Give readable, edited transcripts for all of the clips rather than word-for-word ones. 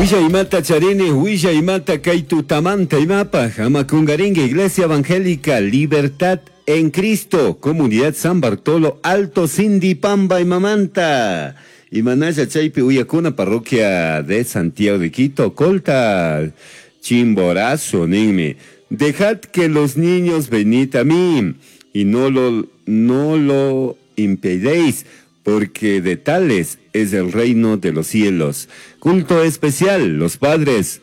Huillaymanta charini, huillaymanta kay tutamanta imapaj, ama kungaringa Iglesia Evangélica Libertad en Cristo, Comunidad San Bartolo, Alto Sindipamba imamanta. Imanalla chaypi uyakuna parroquia de Santiago de Quito, Colta, Chimborazo, ninmi. Dejad que los niños venid a mí y no lo impedéis, porque de tales es el reino de los cielos. Culto especial, los padres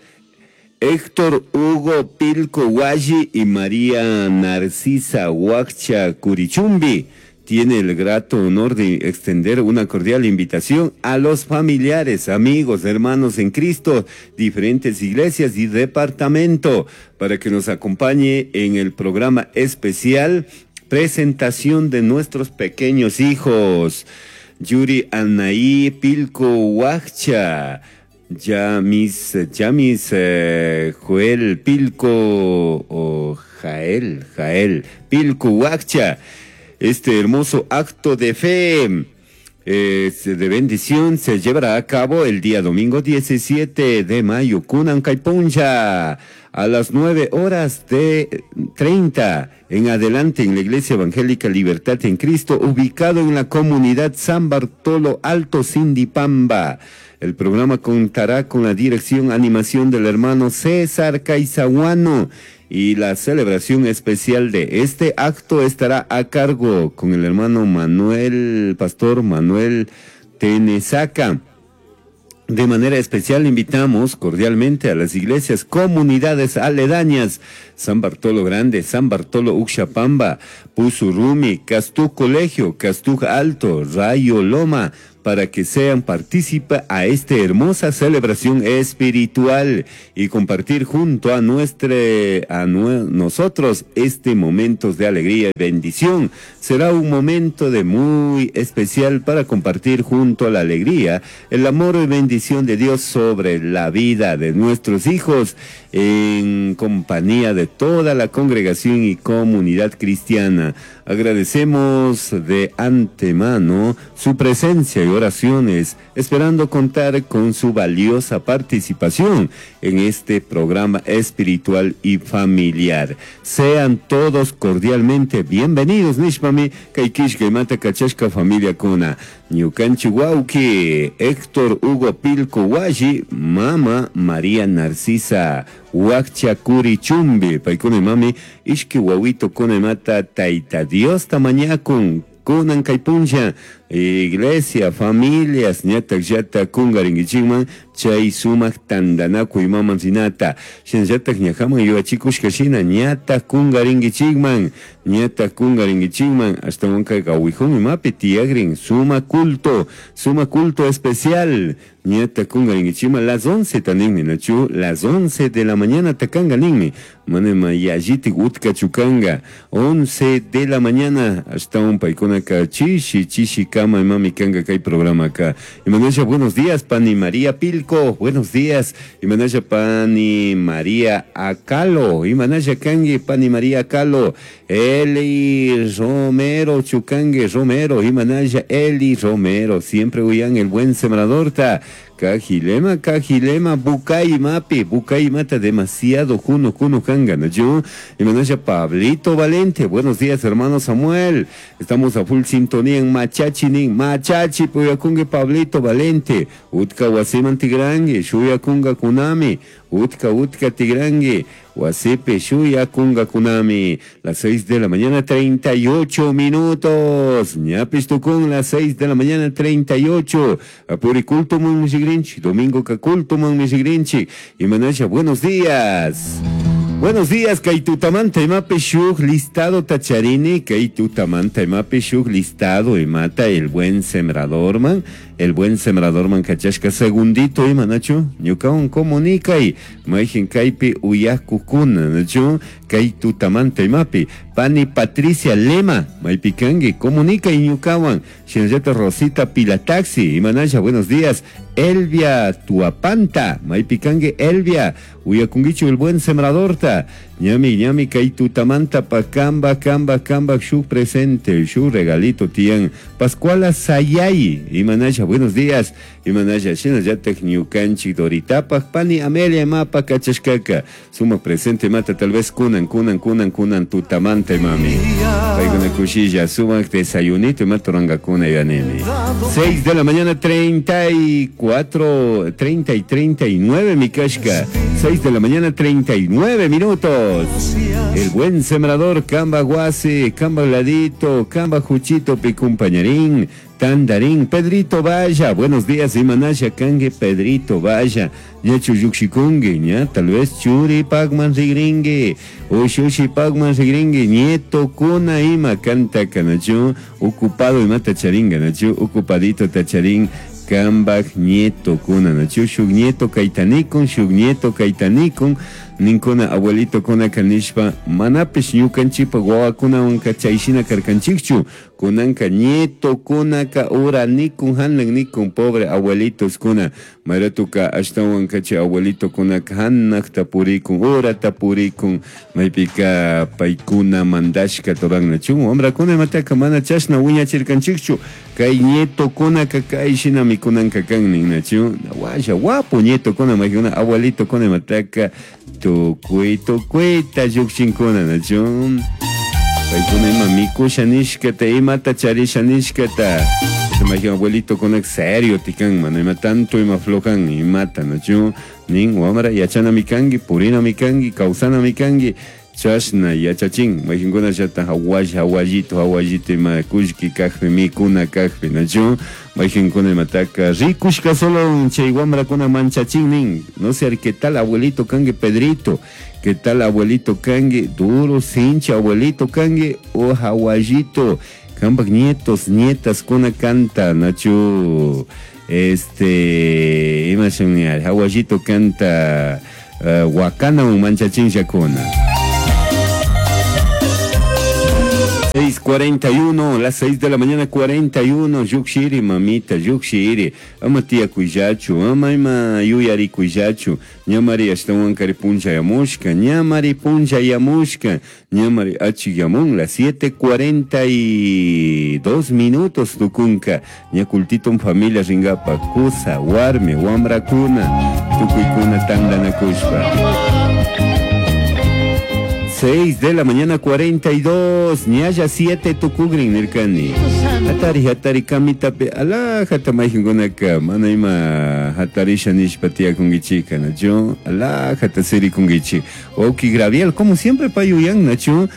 Héctor Hugo Pilco Hualli y María Narcisa Huaccha Curichumbi tiene el grato honor de extender una cordial invitación a los familiares, amigos, hermanos en Cristo, diferentes iglesias y departamento, para que nos acompañe en el programa especial Presentación de nuestros pequeños hijos. Yuri Anaí Pilco Huaccha. Yamis Joel Pilco o Jael Pilco Huaccha. Este hermoso acto de fe de bendición se llevará a cabo el día domingo 17 de mayo, kunan kay punlla, a las 9 horas de 30 en adelante en la Iglesia Evangélica Libertad en Cristo, ubicado en la comunidad San Bartolo Alto Sindipamba. El programa contará con la dirección animación del hermano César Caizahuano y la celebración especial de este acto estará a cargo con el hermano Manuel, Pastor Manuel Tenesaca. De manera especial invitamos cordialmente a las iglesias, comunidades aledañas, San Bartolo Grande, San Bartolo Uxapamba, Pusurumi, Castú Colegio, Castú Alto, Rayo Loma, para que sean partícipe a esta hermosa celebración espiritual y compartir junto a nosotros este momento de alegría y bendición. Será un momento de muy especial para compartir junto a la alegría, el amor y bendición de Dios sobre la vida de nuestros hijos en compañía de toda la congregación y comunidad cristiana. Agradecemos de antemano su presencia y oraciones, esperando contar con su valiosa participación en este programa espiritual y familiar. Sean todos cordialmente bienvenidos, nishpami, kay killkaymanta kachashka familiakuna. Ñukanchik wawki, Héctor Hugo Pilco Hualli, Mama María Narcisa Huaccha Curichumbi, paykuna imami, ishki wawitukunamanta Tayta Diosta mañakun, kunan kay punlla, iglesia, familias, ñatak llata kungarinkichikman, chay sumak tandanakuy imaman rinata. Shinallatak ñajaman yuyachikushka shina ñatak kungarinkichikman, ñatak kungarinkichikman, ashtawanka kawijun imapi tiyagrin, suma culto especial, ñatak kungarinkichikman, las 11 taninmi, nachu, las 11 de la mañana takanga ninmi, manema yallitik utkachu kanga, 11 de la mañana, ashtawan paykunaka chishi, chishi kama imami kanga kay programa ka. Imanasha, buenos días, Pani María Pilco, buenos días. Imanasha, Pani María Acalo, Imanasha kanki, Pani María Acalo, Eli Romero, chukanki Romero, Imanasha Eli Romero, siempre uyan el buen sembrador ta. Kajilema, Kajilema, Bucay Mapi, Bucay mata demasiado, Juno, Juno, Kanga, yo, Imanasha Pablito Valente, buenos días, hermano Samuel, estamos a full sintonía en Machachi, nin, Machachi, uyakunki Pablito Valente, Utka wasiman tigranki, shuyakunkakunami, Utka, Utka tigranki, wasipi shuyakunkakunami, las 6 de la mañana, 38 minutos, ñapish tukun, las 6 de la mañana, 38, apuri cultoman mishigrinchik, domingo cultoman mishigrinchik, Imanasha, buenos días. Buenos días, kay tutamanta imapi shuk listado ta charini, kay tutamanta imapi shuk listado imata el buen sembrador man, el buen sembrador man kachashka segundito ima nachu, ñukawan comunicay, mayjin kaypi uyakukuna nachu, kay tutamanta imapi, pani Patricia Lema, maypi kanki, comunicay ñukawan, shinallata Rosita Pilataxi, imanasha, buenos días, Elvia Tuapanta, maypi kanki Elvia, uyakunkichu el buen sembrador ta, ñami, ñami, kay tutamanta pa kamba, kamba, kamba, shuk presente, shuk regalito tiyan, Pascuala Sayay, imanasha, buenos Buenos días. Imanalla shinallatak ñukanchik Doritapaj pani Amelia imapa kachashkaka. Sumak presente mata tal vez kunan kunan kunan kunan tutamanta imami. Paykuna kushilla sumak desayunito imata rurankakuna yanini. 6 de la mañana 34, 30 y 39 mi kashka. 6 de la mañana 39 minutos. El buen sembrador Camba Guasi, Camba Ladito, Camba Juchito Picumpañarín, Tandarín, Pedrito Vaya, buenos días, Imanasha Kangue, Pedrito Vaya, Ñachu Yukshikungue, ña, tal vez Churi Pagman Rigringue, Ushushi Pagman Rigringue, Nieto Kuna Ima, canta Kanachu, ocupado ima tacharinga, nachu, ocupadito tacharín, Kambaj nieto kuna, nachu, shuk nieto kaitanikun, shuk nieto kaitanikun, ninkuna abuelito kuna kanishpa, manapish ñukanchikpa wawakunawanka chayshina karkanchikchu, kunanka nieto kunaka ura nikun hanak nikun pobre abuelitos kuna, mayratuka ashtawanka chay abuelito kunaka hanakta purikun, urata purikun, maypika paykuna mandashka turan nachu, wambrakuna imataka mana chashna wiñachirkanchikchu, kay nieto kunaka kay shinami kunanka kan nin nachu, washa wapu nieto kuna maykuna abuelito kuna imataka tukuy tukuyta llukshinkuna nachu, paykuna ima mikusha nishkata imata charisha nishkata, mayqin abuelito kunak serio tikan mana ima tanto ima flojan imata nachu, nin wamra yachanami kanki purinami kanki kawsanami kanki chashna yachachin mayqinkunallata hawalla hawallito hawallito ima kullki kajpi mikuna kajpi nachu, mayqinkuna imataka rikushka solo chay wamrakuna manchachin nin, no sé qué tal abuelito kanki Pedrito, qué tal abuelito kanki duro sinchi abuelito kanki o hawallito kampak nietos nietas kuna canta nachu, este ima shun hawallito canta wakana manchachinllakuna. 6:41, las 6 de la mañana 41, yukshiri mamita, yukshiri, ama tía kuyachu, ama ima yuyari kuyachu, ñamari ashtawan kari puncha yamushka, ñamari puncha yamushka, ñamari achiyamun, las 7:42 minutos tukunka, ñakultito familia ringapa, kusa, warmi, wambrakuna, tukuykuna tandanakushpa. 6 de la mañana 42, ñalla 7 tukugrin nirkani. Hatari hatari kamitapi alajata mayqinkunaka mana ima hatarisha nishpa tiyakunkichika nachu, alajata sirikunkichik. Wawqi Graviel, como siempre payuyan nachu,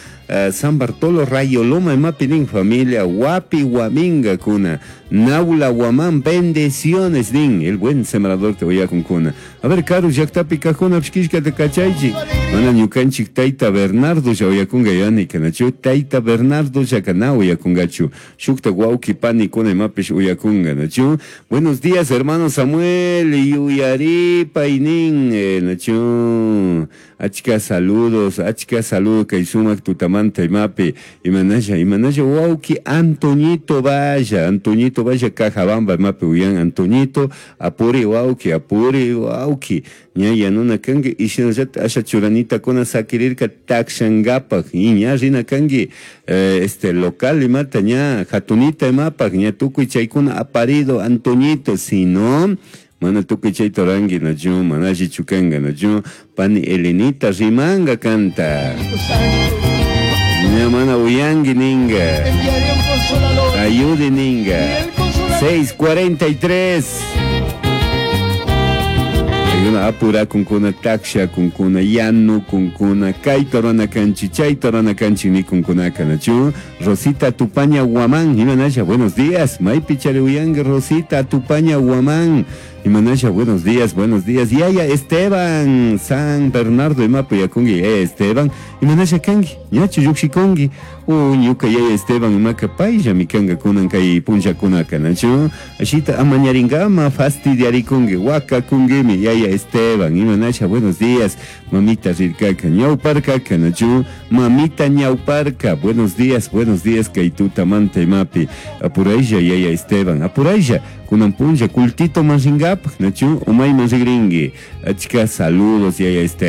San Bartolo Rayo Loma imapi nin familia wapi waminga kuna Naula Guamán, bendiciones nin el buen sembrador te voy a kuna. A ver karu llaqtapi kajkuna pishkishkata kachaychik mana ñukanchik tayta Bernardo lla uyakunga yani kanachu tayta Bernardo llakana uyakungachu shukta wawqi pani kuna imapish uyakunga nachu. Buenos días hermano Samuel yuyaripay nin nachu, achka saludos, achka saludos kay sumak tutamanta imapi imanalla imanalla wawqi Antoñito Valla, Antoñito Valla Cajabamba imapi uyan Antoñito apuri wawqi apuri wawqi ña yanuna kanki y shinallata asha churanita kuna sakirirka takshankapaj y ña rina kanki este local imata ña hatunita imapaj ña tukuy chaykuna aparido Antoñito, si no mana tukuy chayta ruranki nachu mana allichu kanka nachu pani Elenita rimanga kanta ña mana uyanki ninga ayude ninga. 6:43. Una apura kunkuna taksha kunkuna yanu kunkuna kayta rurana kanchik chayta rurana kanchik nikunkunaka nachu. Rosita Tupaña Guamán imanasha buenos días maypi chari uyanki Rosita Tupaña Guamán imanasha buenos días, buenos días yaya Esteban San Bernardo imapi uyakunki yaya Esteban imanasha kanki ñachu llukshikunki ñuka yaya Esteban imaka payllami kanka kunan kay punllakunaka nachu ashita amañarinkama fastidiarikunki wakakunkimi yaya Esteban imanasha buenos días mamita rirkaka ñawparkaka nachu mamita ñawparka buenos días, buenos días kay tutamanta imapi apuraylla yaya Esteban apuraylla kunan punlla kultito man rinkapaj nachu umayman rigrinki achka saludos yaya Esteban.